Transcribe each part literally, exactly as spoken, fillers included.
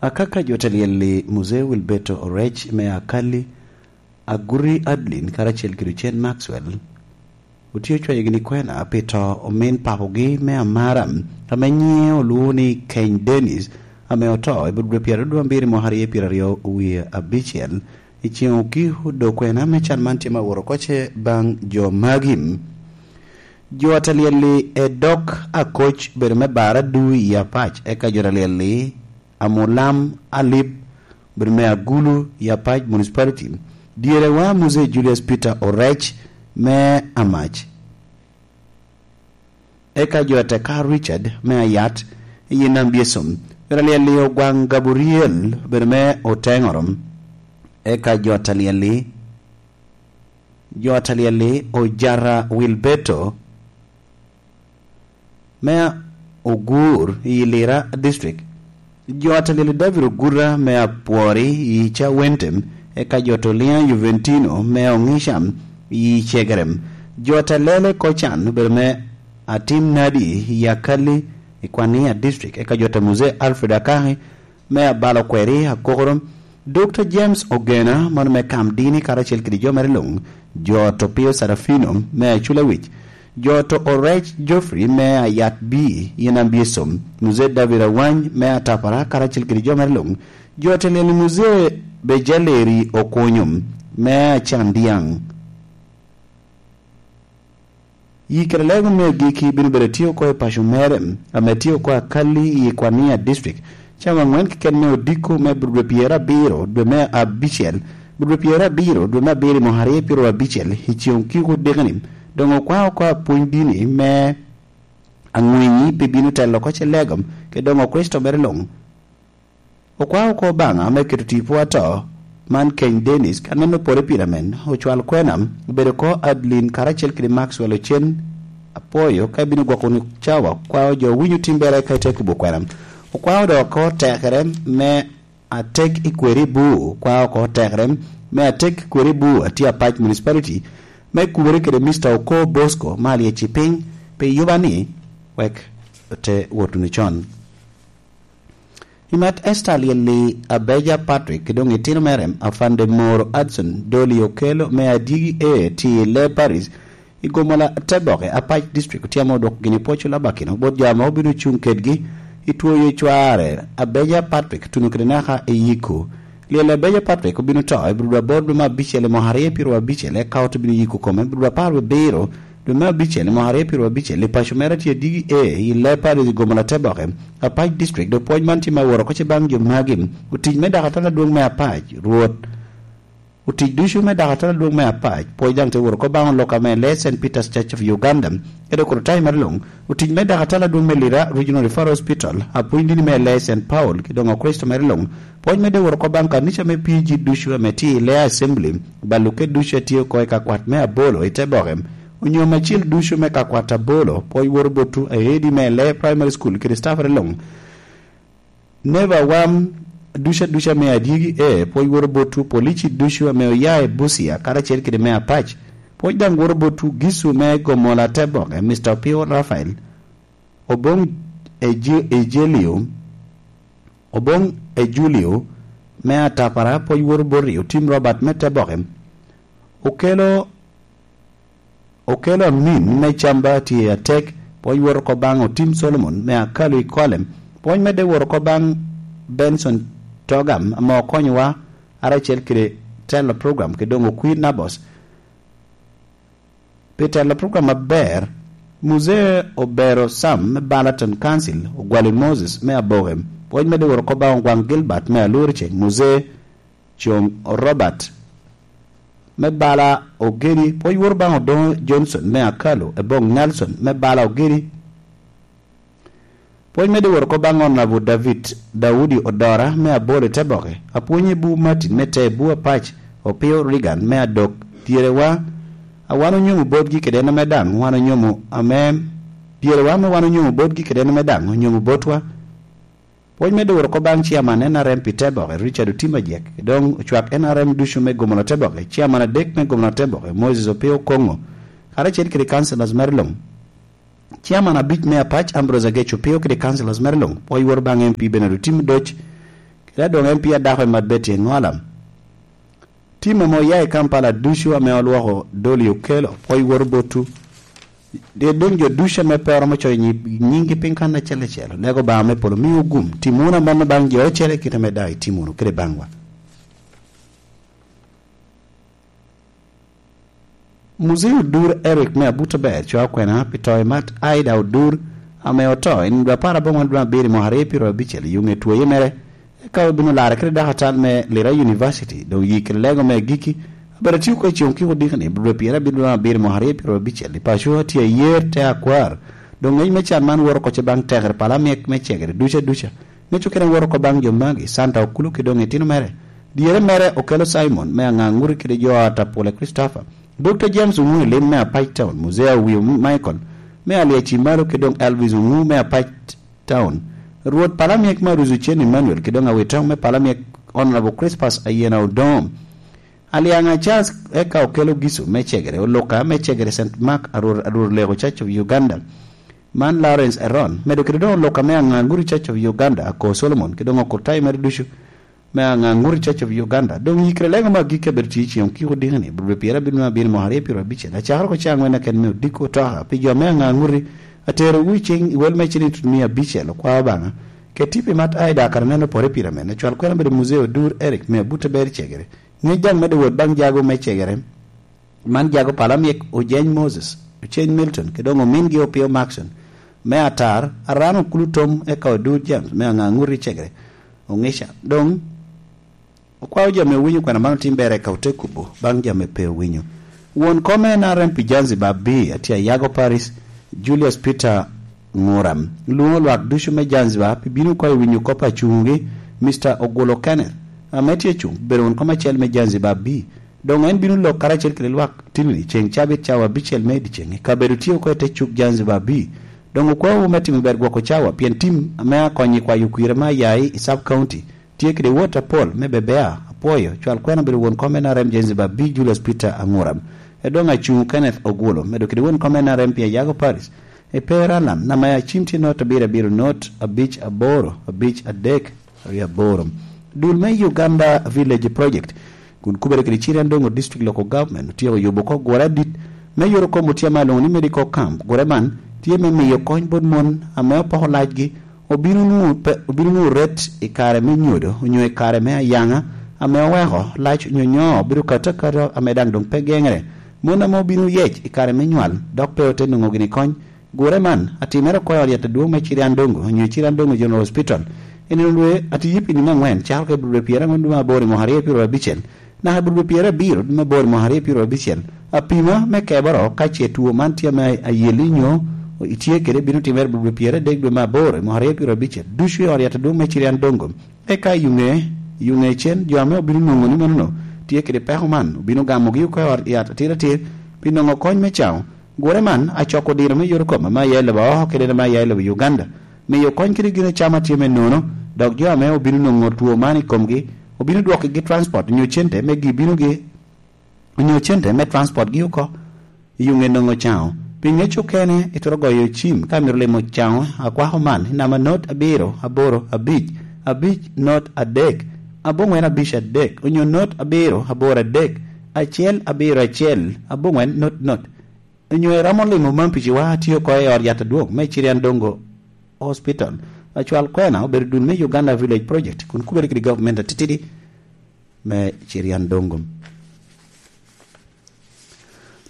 Akaka jo te lyel i Muzee Wilberto Orec me Akali, Aguri Adlin karacel kede Ochen Maxwell otye ocwayo gini kwena pi to omin papogi me amara ame nyiŋe olwoŋo ni Keny Dennis, ame oto i budwe pyeraryo dwe abiro mwaka aryo pyeraryo wie abicel i ceŋ okiko. Dok kwena me can man tye ma woro koce baŋ jo magi. Jo ata lyel-li Edok Akoc bedo me Baradu i Apac, eka jo ata lyel-li Amulam Alip bedo me Agulu i Apac Municipality. Dyere wa Muzee Julius Peter Orec me Amac, eka jo ata ka Richard me Ayat i Nambiesom. Jo ata lyel-li Ogwaŋ Gabriel bedo me Oteŋoro, eka jo ata lyel-li, jo ata lyel-li Ojara Wilberto me Ogur i Lira District. Jo ata lyel-li David Ogura me Apwori i Cawentem, eka jo ata Olia Juventino me Oŋica i Cegerem. Jo ata lele Kocan obedo me Atim Nadi i Akali i Kwania District, eka jo ata Muzee Alfred Akaki me Abalo Kweri Akokoro. Dokta James Ogena, mano me Kam Dini karacel kede jo mere luŋ, jo ata Opio Sarafino me Aculawic, jo ata Orec Geoffrey me Ayat B i Nambiesom, Muzee David Awany me Atapara karacel kede jo mere luŋ, jo ata lyel-li Muzee Bejaleri Okunyo me Acandiaŋ. Yi kede lego me agikki bino bedo tye oko i paco mere, ame tye oko Akali i Kwania District, cawa aŋwen keken me odiko me dwe pyerabiro dwe me abicel, dwe pyerabiro dwe me abiro i mwaka aryo pyeraryo abicel, i ceŋ okiko dikeni. Doŋ okwao oko apwony dini me aŋwinyi pi bino telo oko ce lego, kede doŋ Okricito mere luŋ. Okwao oko Obaŋa me keto tipo ato man Keny Dennis, ka neno pore pire amen, ocwal kwena, obedo oko Adlin karacel kede Maxwell Ocen. Apwoyo ka ibino gwoko wunu cawa, okwao jo winyo timbere ka ite kubo kwena. Okwao dok oko tekere me atek i kweri bu, okwao oko tekere me atek i kweri bu atye Apac Municipality, me kubere kede Mister Oko Bosco me Alyeci piny pi yuba ni wek ote wot wunu con. I mat Esther Lyelli Abeja Patrick, doŋ itino mere Afande Moro Adson Doli Okelo me Adyegi A tye i Lee Parish i Gomola Teboke, Apac District, otyamo odwoko gini pwoc olabakino bot jo ame obino cuŋ kedgi i twoyo cware. Abeja Patrick tuno kede naka i yiko. Lyelli Abeja Patrick obino to i bur dwe aboro dwe me abicel i mwaka aryo pyeraryo abicel, eka ote bino yiko kome bur dwe apar wie abiro dwe me abicel i mwaka aryo pyeraryo abicel i paco mere tye Adyegi A i Lee Parish i Gomola Teboke, Apac District. Dok pwoc man tye ma woro oko ce baŋ jo magi: otic me dakatala adwoŋ me Apac, Rwot, otic ducu me dakatala adwoŋ me Apac. Pwoc daŋ te woro oko baŋ oloka me Lee Saint Peter's Church of Uganda, kede okuro tayi mere luŋ, otic me dakatala adwoŋ me Lira Regional Referral Hospital, apwony dini me Lee Saint Paul, kede doŋ Okricito mere luŋ. Pwoc medde woro oko baŋ kanica me P G ducu ame tye i Lee Assembly, balo kede ducu a tye oko i kakwat me Abolo i Teboke, onyo me acil ducu me kakwat Abolo. Pwoc woro botwu aedi me Lee Primary School kede staffere luŋ. Neba wam duca duca me Adyegi A, pwoc woro botwu polici ducu ame oya i Busia karacel kede me Apac. Pwoc daŋ woro botwu Gisu me Gomola Teboke, Mister Opio Raphael, Oboŋ Eji-, Ejelio, Oboŋ Ejulio me Atapara, pwoc woro boti Otim Robert me Teboke, Okelo, Okelo Amin me Camba tye atek, pwoc woro oko baŋ Otim Solomon me Akalu i Kolem, pwoc medde woro oko baŋ Benson Togam ame okonyowa aracel kede telo program, kede doŋ Okwir Nabos pi telo program aber. Muzee Obero Sam me Balaton Council, Ogwali Moses me Aboke, pwoc medde woro oko baŋ Ogwaŋ Gilbert me Aluriceng, Muzee Coŋ Robert me bala Ogedi, pwoc woro baŋ Odoŋo Johnson me Akalu, Eboŋ Nelson me bala Ogedi. Pwoc medde woro oko baŋ Honorable David Daudi Odora me Abolo i Teboke, apwonye bu Martin me Tee bu Apac, Opio Reagan me Adok. Dyerewa a wan onyomo botgi kede en ame daŋ wan onyomo ame, dyerewa ame wan onyomo botgi kede en ame daŋ onyomo botwa. Pwoc medde woro oko baŋ Chairman N R M pi Teboke, Richard Otim Ajek, doŋ ocwak N R M ducu me Gomola Teboke, Chairman adek me Gomola Teboke, Moses Opio Koŋo, karacel kede councillors mere luŋ. Chairman abic me Apac, Ambrose Agec Opio kede councillors mere luŋ. Pwoc woro baŋ M P Bernard Otim Doc, Ka doŋ en pia dako i Mat Betty Eŋolam. Tim ame oya i Kampala ducu ame olwoko Dolly Okello, pwoc woro botwu. Dye doŋ jo ducu ame pe oromo coyo nyi-, nyinggi piny kan acel acel, lego Obaŋa me polo miwu gum, tim wunu amanno baŋ jo ocele kite ame daŋ itim wunu kede baŋwa. Muzee Odur Eric me Abuto Ber cwa kwena pi to i Mat Aida Odur ame oto i nino dwe apar aboŋwen dwe abiro mwaka aryo pyeraryo abicel i yuŋe twoye mere. Eka obino larre kede dakatal me Lira University, doŋ yi kede lego me agikki, abero tio oko i ceŋ okiko dikani, dwe pyerabiro dwe abiro mwaka aryo pyeraryo abicel i paco atye ayer te akwar. Doŋ ngec me can man woro oko ce baŋ tekere pala myek me cegere duca duca. Ŋec okene woro oko baŋ jo magi, Santa Okulu kede doŋ itino mere. Dyere mere Okelo Simon me Aŋaŋuri kede jo a Tapule Christopher. Dokta James Oŋu i lim me Apac Town, Muzee Awiyo Michael me Aliaci Malo kede doŋ Elvis Oŋu me Apac Town. Rwot Palamyek me Aruzu Cen Emmanuel kede doŋ Awitoŋ me Palamyek Honorable Crispus Ayena Odoŋo. Aliaŋa Charles eka Okelo Gisu me Cegere, Oluka me Cegere Saint Mark Arur, Arur Lego Church of Uganda. Man Lawrence Eron, medo kede doŋ Oluka me Aŋaŋuri Church of Uganda, Ako Solomon, kede doŋ Okurtayo mere ducu me Aŋaŋuri Church of Uganda. Doŋ yikere lego me agikki abedo tye i ceŋ okiko dikani, bulu pyerabino me abino mwaka aryo pyerabicel. Acakere oko caŋ wen aken me odiko otoka pi jo me Aŋaŋuri, aterowu i ceŋ i wel me ciliŋ tut mia abicel, okwao Obaŋa. Keti pi mat Aida kara neno pore pire men, acwal kwena bedo Muzee Odur Eric me Abuto Ber Cegere. Ŋec daŋ medo wot baŋ jago me Cegere. Man jago Palamyek Ojeny Moses, Oceny Milton, kede doŋ omingi Opio Maxon. Me atar, Aran Okulu Tom eka Odur James me Aŋaŋuri Cegere. Oŋica. Doŋ, okwao jami owinyo kwena man otim ber eka ote kubo baŋ jami pe owinyo. Won kom en N R M pi Zanzibar B, atye Ayago Paris, Julius Peter Ŋuram. Lwoŋo lwak ducu me Zanzibar pi bino oko i winyo kop acuŋogi, Mister Ogolo Kenneth, ame tye cuŋ, bedo won kom acel me Zanzibar B. Doŋ en bino lok karacel kede lwak tinni ceŋ cabit cawa abicel me dyeceŋ i kabedo tye oko i te cuk Zanzibar B. Doŋ okwaowu me timo ber gwoko cawa, pien tim ame akonyo i kwayo kwir ame ayayi i Sub County tye kede wot apol me bebea. Apwoyo, cwal kwena bedo won kom N R M Zanzibar B Julius Peter Aŋuram. E doŋ acuŋ Kenneth Ogwolo, medo kede won kom N R M pi Ayago Paris. E per alam, nama ya cim tye not abiro abiro not abic aboro abic adek. Aryo aboro. Dul me Uganda Village Project, kun kubere kede Chiriandongo District Local Government, otyeko yubo oko gure adit me yoro kom otyama alongo ni medical camp. Gure man tye me miyo kony bot mon ame opoko lacgi, obino nwoŋo pe-, obino nwoŋo ret i kare me nyodo onyo i kare me ayaŋa ame oweko lac onyo nyo obedo kato akata ame daŋ doŋ pe geŋere. Mon ame obino yec i kare me nywal dok pe ote nwoŋo gini kony, gure man atimere oko i ot yat adwoŋ me Chiriandongo onyo Chiriandongo General Hospital. I nino dwe atye yipi nino aŋwen cako ka i dwe pyerangwen dwe me aboro i mwaka aryo pyeraryo abicel, naka i dwe pyerabiro dwe me aboro i mwaka aryo pyeraryo abicel. Apima me keboro ka ce two man tye ame ayeli nyo itye kede, bino timere i dwe pyeradek dwe me aboro i mwaka aryo pyeraryo abicel, ducu i ot yat adwoŋ me Chiriandongo. Eka i yuŋe, i yuŋe cen, jo ame obino nwoŋo ni manono tye kede peko man, obino gamogi oko i ot yat atir atir pi nwoŋo kony me caŋo. Gure man acoko diro me yot kom ame aya i lobo oko kede ame aya i lobo Uganda, miyo kony kede gin acama tye me nono, dok jo ame obino nwoŋo two man i komgi obino dwokkigi transport onyo cente me gi binogi, onyo cente me transport gi oko i yuŋe nwoŋo caŋo. Pi ŋec okene, itwero goyo cim ka imito limo caŋo akwako man i namba not abiro aboro abic, abic not adek, aboŋwen abic adek, onyo not abiro aboro adek, acel abiro acel, aboŋwen not not. Onyo iromo limo man pi ciwa atye oko i ot yat adwoŋ me Chiriandongo Hospital. Acwal kwena obedo dul me Uganda Village Project, kun kubere kede government atitidi me Chiriandongo.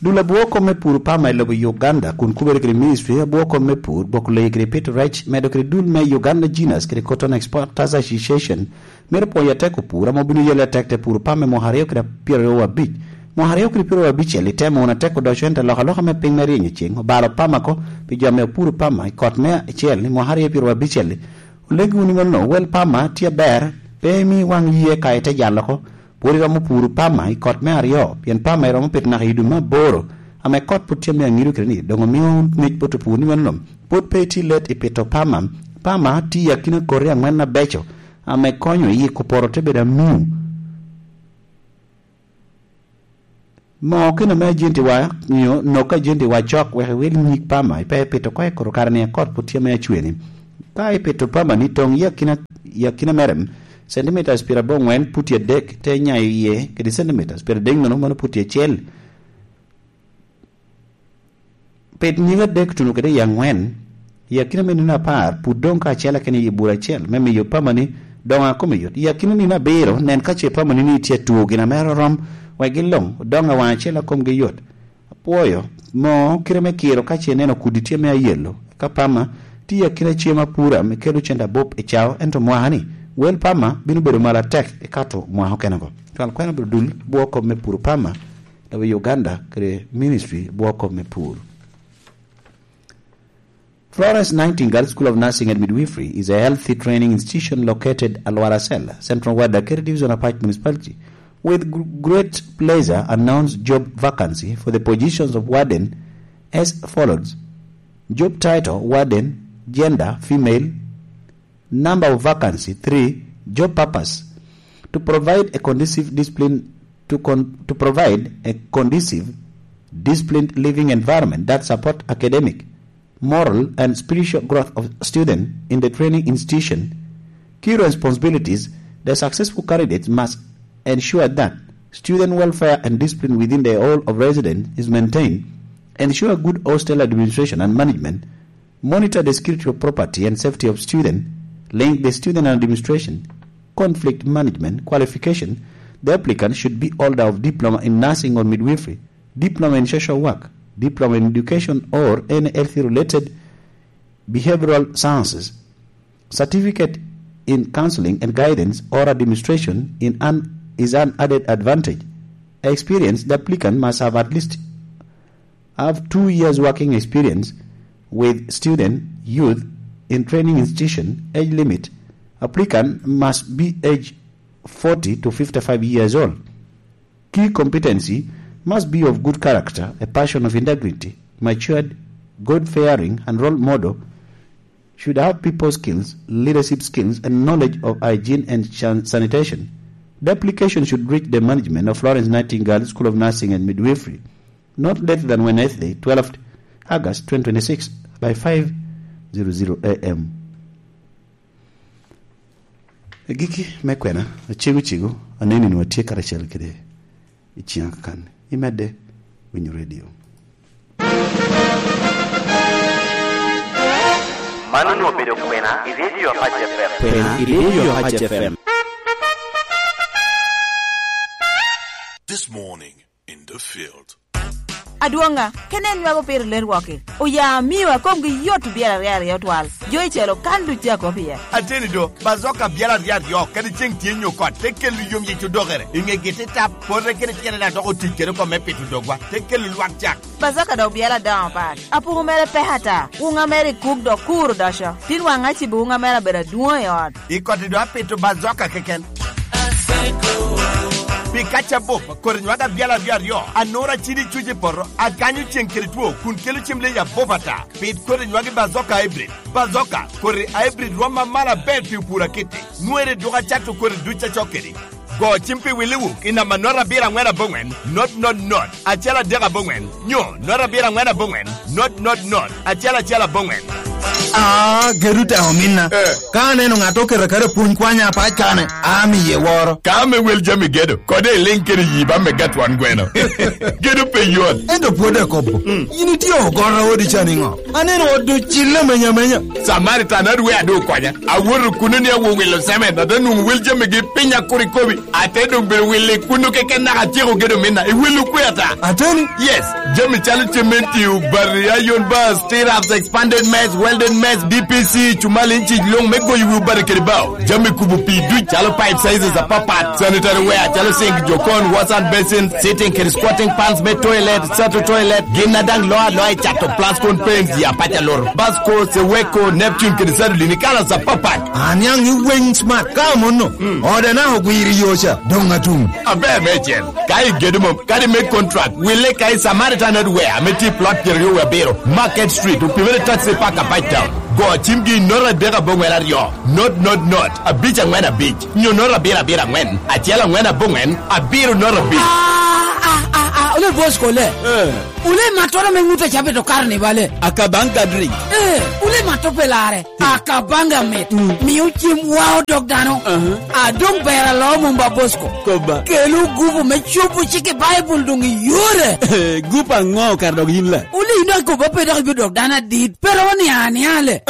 Dul abwoko me pur pama i lobo Uganda, kun kubere kede ministry abwoko me pur, gwoko leyi kede pito rec, medo kede dul me Uganda Genus kede Cotton Exporters Association, mito pwonyo atek opur ame obino yelle atek te pur pama i mwaka aryo kede pyeraryo abic. Mwaka aryo kede pyeraryo abicel itemo wunu atek odoco, ento alokaloka me piny me ryenyo ceng obalo pama ko pi jo ame opuro pama i kot me acel i mwaka aryo pyeraryo abicel. Olegi wunu ni mano, wel pama tye aber, pe imi waŋ yie ka ite jalo oko. Pwod iromo puro pama i kot me aryo, pien pama iromo pito naka i dwe me aboro, ame kot pwod tye ame aŋido kede ni, doŋ omio ŋec bot opur ni mano, pwod pe itye let i pito pama. Pama tye i akina koti aŋwen abeco, ame konyo i yiko poto te bedo amiu. Mo kene ame ajenti wa, nyo nok ajenti wa cok wek iwil nyig pama, ipe ipito oko i koro kare ni akot pwod tye ame acweni. Ka ipito pama ni toŋ i akina, i akina mere, centimeters pyeraboro aŋwen puti adek, te nyayo iye kede centimeters pyeradek nono, mano puti acel. Pit nyige adek tuno kede i aŋwen, i akina me nino apar, put doŋ kacel akene i bur acel, me miyo pamani doŋ a kome yot. I akina nino abiro, nen ka ce pamani ni tye atwo gin a mere orom, wek gin luŋ doŋ awaŋ acel a komgi yot. Apwoyo moo kite me kiro ka ce ineno kudi tye me ayelo, ka pama tye i akina cem apura me kelo cente abup i cao, ento mwaka-ni, wel pama bino bedo malo atek ikato mwaka okenego. Twal kwena bino dul bwo kop me puro pama, W Uganda kede Ministry bwo kop me pur. Florence Nightingale School of Nursing and Midwifery is a healthy training institution located at Lwaracel, Central Ward, Akeri Division, Apac Municipality. With gr-, great pleasure, announce job vacancy for the positions of warden as follows. Job title, warden, gender, female, number of vacancy, three, job purpose, to provide a conducive discipline, to con-, to provide a conducive, disciplined living environment that support academic, moral, and spiritual growth of student in the training institution. Key responsibilities, the successful candidate must ensure that student welfare and discipline within the hall of residence is maintained, ensure good hostel administration and management, monitor the security of property and safety of student, link the student and administration, conflict management, qualification. The applicant should be holder of diploma in nursing or midwifery, diploma in social work, diploma in education or any health related behavioral sciences, certificate in counseling and guidance or administration in an, is an added advantage. Experience, the applicant must have at least have two years working experience with student, youth, in training institution. Age limit, applicant must be age forty to fifty-five years old. Key competency, must be of good character, a passion of integrity, matured, God-fearing, and role model, should have people skills, leadership skills, and knowledge of hygiene and san-, sanitation. The application should reach the management of Florence Nightingale School of Nursing and Midwifery not later than Wednesday, twelfth August twenty twenty-six, by five zero zero A M. Agikki me kwena, acego cego, aneni nwa tye karacel kede i ciŋa kakan. Imedde winyo redio. Man onwoŋo obedo kwena i redio Apac F M. Kwena i redio Apac F M. This morning in the field. Adwoŋa, kene en nwago pire lerwoki. Oya amio a komgi yot obyelo aryo aryo twal. Jo i celo kan duc a kop iye. Ateni do, Bazoka byel aryo aryo, kadi ceŋ tye nyo kot, te kelo yom yic odokere. I ŋegi te tap, pote kede tyene daŋ dok otic kede oko me pito dogwa, te kelo lwak cak. Bazoka dok byel adoŋo pat. Apuku mere pek ata. Wuŋa mere i kuk dok kur odoco. Tin waŋ acibo wuŋa mere abedo adwoŋ i ot. I koti do apito Bazoka keken. Pi kaca bup, kodi nywag abyal aryo aryo, anura cidi cuc i poto, akanyo ceŋ kede two, kun kelo cem leyi abup ata. Pit kodi nywag i Bazoka hybrid. Bazoka, kodi hybrid rwom amalo aber pi opur akiti. Nwere dwogo acato kodi duc acok kedi. Go cim pi Willi Wuk i namba not abiro aŋwen aboŋwen, not not not, acel adek aboŋwen, nyo not abiro aŋwen aboŋwen, not not not, acel acel aboŋwen. Ah, gedo te ominna. Eh. Ka aneno ŋat oketo aketa pwony kwanya apac kane, amiye woro. Ka ame wel jami gedo, kode iliŋ kede yi ba me gatwon gweno. Gedo pe yot. Ento pwod akobo. Mm. Yin itye ogoro odi ca niŋo? Aneno ot ocille amenya amenya. Samaritan adwe adu okonya. Awoto kuno ni awo wilo cement, ate nwoŋo wel jamigi piny akurikobi. Ate doŋ bedo wilo i kuno keken naka atyeko gedo minna. I wilo kwe ata? Ateni? Yes. Jami calo cementi, obati, iron bars, stirrups, expanded mess, welded mess, D P C, cumal inci luŋ me goyo wi obati kede bao. Jami kubo pii duc calo pipe sizes apapat, sanitary ware calo sink, jokon, wash hand basin, sitting kede squatting pans me toilet, sato toilet, gin a daŋ loo aloa i cato Plascon paints, ya paca loro, Basco, Seweko, Neptune kede Sadolin i colors apapat. Aniaŋ i weng smart ka amono. Mm. Ode na ogwiro i yo ca, doŋ atum. Aber meicel, ka igedo mom, kadi me contract, wille ka i Samaritan Hardware ame tye i plot pyeraryo wie abiro, Market Street, opimere taxi park Apac Town. Go cimgi i note adek aboŋwen aryo, not not not, abic aŋwen abic, nyo note abiro abiro aŋwen, acel aŋwen aboŋwen, abiro note abic. A, a, a, ole boss kole. Eh. Ole mattoro me ŋut a cabit okaro ni bale. Akabanga drink. Eh, ole matto pe lare. Akabanga mit. Mm. Mio cem wao dog dano. Aha. A dong ber alo mumba Bosco. Koba. Kelu gupu me cupu cik i Baibul dong i yore. Eh, gupu aŋo kara dog yin la? Ole ino akoba pe dok ibino dok dano adit. Pero ni aniale.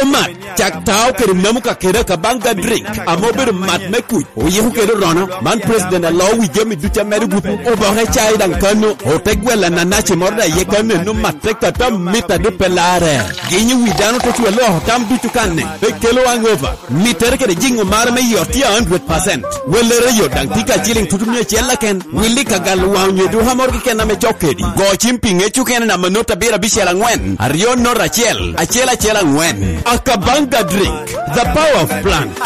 Omat, cak tao kede mamu ka kede Akabanga drink. Ame obedo mat me kuc. Oyiko kede orono. Man president alo wi jami ducu a medo gupu. Oboke cai daŋ kano. Ote gwel ananaci moro daŋ iye kano eno matte kata mit a duk pe larre. Ginyo wi dano te cwalo oko tam ducu kanne. Pe kelo hangover. Mittere kede jiŋo mare me yot tye a hundred percent. Wellere yot daŋ tye ka ciliŋ tutu mia acel keken. Willi ka galo waŋ onyo duka moro keken ame cok kedi. Go cim pi ŋec okene namba not abiro abicel aŋwen, aryo not acel, acel acel aŋwen. Akabanga drink, the power of plant.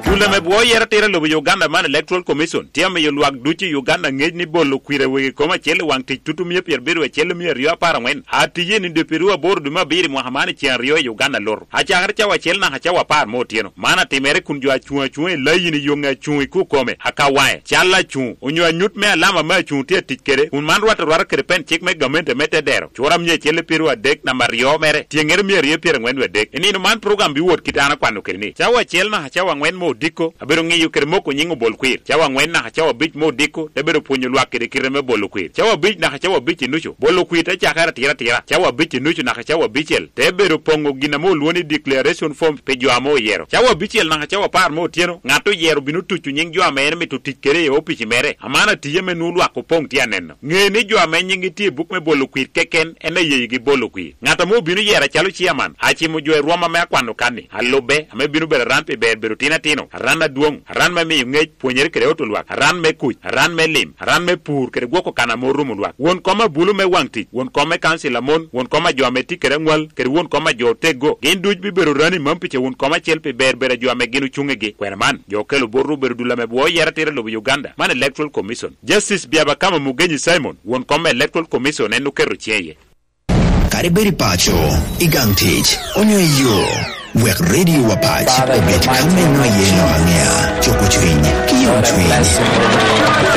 Dul ame bwo yero tira lobo Uganda man Electoral Commission tye amiyo lwak ducu i Uganda ŋec ni bolo kwir awegi kom acel i waŋ tic tutu mia pyerabiro acel mia aryo apar aŋwen. Atiye ni dwe pyeraryo aboro dwe me abiro i mwaka man i ceŋ aryo i Uganda loto. Acakere cawa acel naka cawa apar me otyeno. Man atimere kun jo acuŋ acuŋa i layin i yoŋe acuŋ i kukome, akawae, cal acuŋ, onyo anyut me alama me acuŋ tye atic kede, kun man rwatte arwata kede pen cik me gamente me te dero, cura mia acel pyeraryo adek namba aryo mere, tyeŋere mia aryo pyeraŋwen wie adek. I nino man program biwot kit an akwano kede ni, cawa acel naka cawa aŋwen me odiko, abedo ŋiyo kede moko nyiŋ obol kwir. Cawa aŋwen naka cawa abic me odiko, te bedo pwonyo lwak kede kite me bolo kwir. Cawa abic naka cawa abic i nucu, bolo kwir te cakere atira atira. Cawa abic i nucu naka cawa abicel, te bedo poŋo gin ame olwoŋo ni declaration form pi jo ame oyero. Cawa abicel naka cawa apar me otyeno, ŋat oyero bino tuco nyiŋ jo ame en mito tic kede i opici mere. Aman atiye ame nwoŋo lwak opoŋ tye aneno. Ŋe ni jo ame nyiŋgi tye i buk me bolo kwir keken en aye yigi bolo kwir. Ŋat ame obino yero acalo ciaman, acimo jo i rwom ame akwano kan-ni, alubbe, ame bino bedo aran pi ber bedo tin atino, aran adwoŋ, aran me miyo ŋec, pwonyere kede oto lwak, aran me kuc, aran me lim, aran me pur kede gwoko kan ame orumo lwak. Won kom abulu me waŋ tic, won kom me kancil amon, won kom a jo ame tye kede aŋwal, kede won kom a jo oteggo, gin duc bibedo rani mam pica won kom acel pi ber bedo a jo ame gin ocuŋ igi. Kwena man, jo okelo botwu obedo dul ame bwo yero atira lobo Uganda, man Electoral Commission. Justice Byabakama Mugenyi Simon, won kom me Electoral Commission, en oketo ciŋe iye. Kadi bed i paco, i gang tic, onyo i yo, wek redio wa pac obed ka me nwa ye ŋo aŋea, coko cwiny, ki yom cwiny.